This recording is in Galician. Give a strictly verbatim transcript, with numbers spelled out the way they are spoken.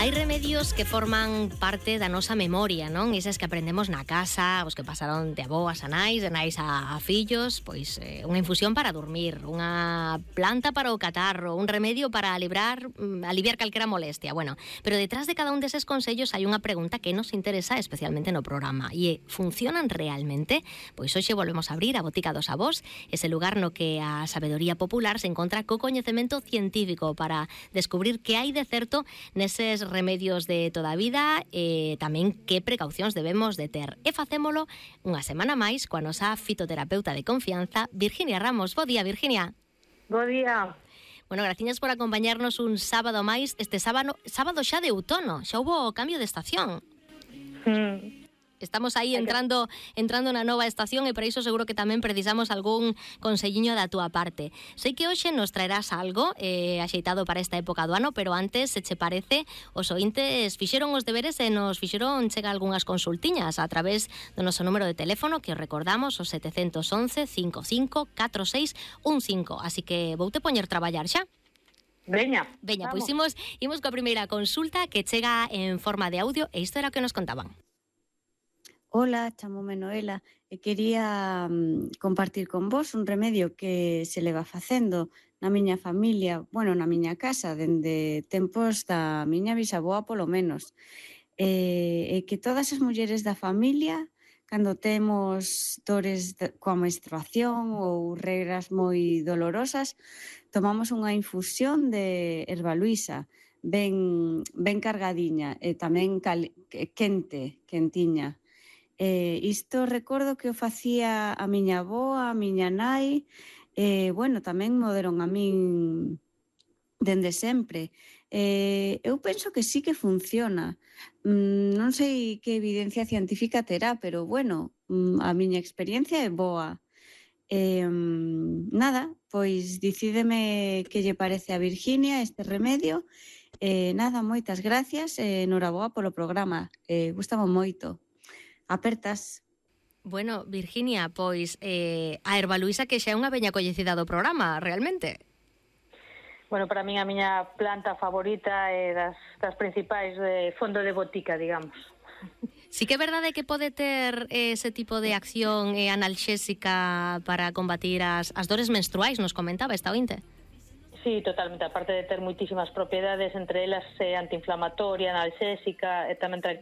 Hai remedios que forman parte da nosa memoria, non? Esas que aprendemos na casa, os que pasaron de avós a nais, de nais a, a fillos, pois eh, unha infusión para dormir, unha planta para o catarro, un remedio para alibrar, aliviar calquera molestia. Bueno, pero detrás de cada un deses consellos hai unha pregunta que nos interesa especialmente no programa, e é, funcionan realmente? Pois hoxe volvemos a abrir a Botica dos Avós, ese lugar no que a sabedoría popular se encontra co coñecemento científico para descubrir que hai de certo neses remedios de toda a vida e tamén que precaucións debemos de ter. E facémolo unha semana máis coa nosa fitoterapeuta de confianza, Virginia Ramos. Bo día, Virginia. Bo día. Bueno, graciñas por acompañarnos un sábado máis, este sábado, sábado xa de outono, xa houbo cambio de estación. Mm. Estamos aí entrando entrando na nova estación e para iso seguro que tamén precisamos algún conselliño da túa parte. Sei que hoxe nos traerás algo eh, axeitado para esta época do ano, pero antes, se che parece, os ointes fixeron os deberes e nos fixeron chega algunhas consultiñas a través do noso número de teléfono, que os recordamos, o sete once, cinco cinco, catro seis un cinco. Así que voute poñer traballar xa. Veña, Veña, pois imos, imos coa primeira consulta que chega en forma de audio e isto era o que nos contaban. Ola, chamome Noela e quería um, compartir con vos un remedio que se leva facendo na miña familia, bueno, na miña casa, dende tempos da miña bisaboa polo menos. E, e que todas as mulleres da familia, cando temos dores de, coa menstruación ou regras moi dolorosas, tomamos unha infusión de erva luisa, ben, ben cargadiña e tamén cal, quente, quentiña. Eh, isto recordo que o facía a miña avoa, a miña nai, e, eh, bueno, tamén mo deron a min dende sempre. Eh, eu penso que sí que funciona. Mm, non sei que evidencia científica terá, pero, bueno, mm, a miña experiencia é boa. Eh, nada, pois dicídeme que lle parece a Virginia este remedio. Eh, nada, moitas gracias e eh, noraboa polo programa. Eh, gustame moito. Apertas. Bueno, Virginia, pois eh, a erva luisa que xa é unha veña coñecida do programa, realmente. Bueno, para min a miña planta favorita é das, das principais de fondo de botica, digamos. Sí que é verdade que pode ter ese tipo de acción eh, analxésica para combatir as, as dores menstruais, nos comentaba esta ointe. Sí, totalmente, aparte de ter moitísimas propiedades, entre elas eh, antiinflamatoria, analxésica e tamén tranquilización.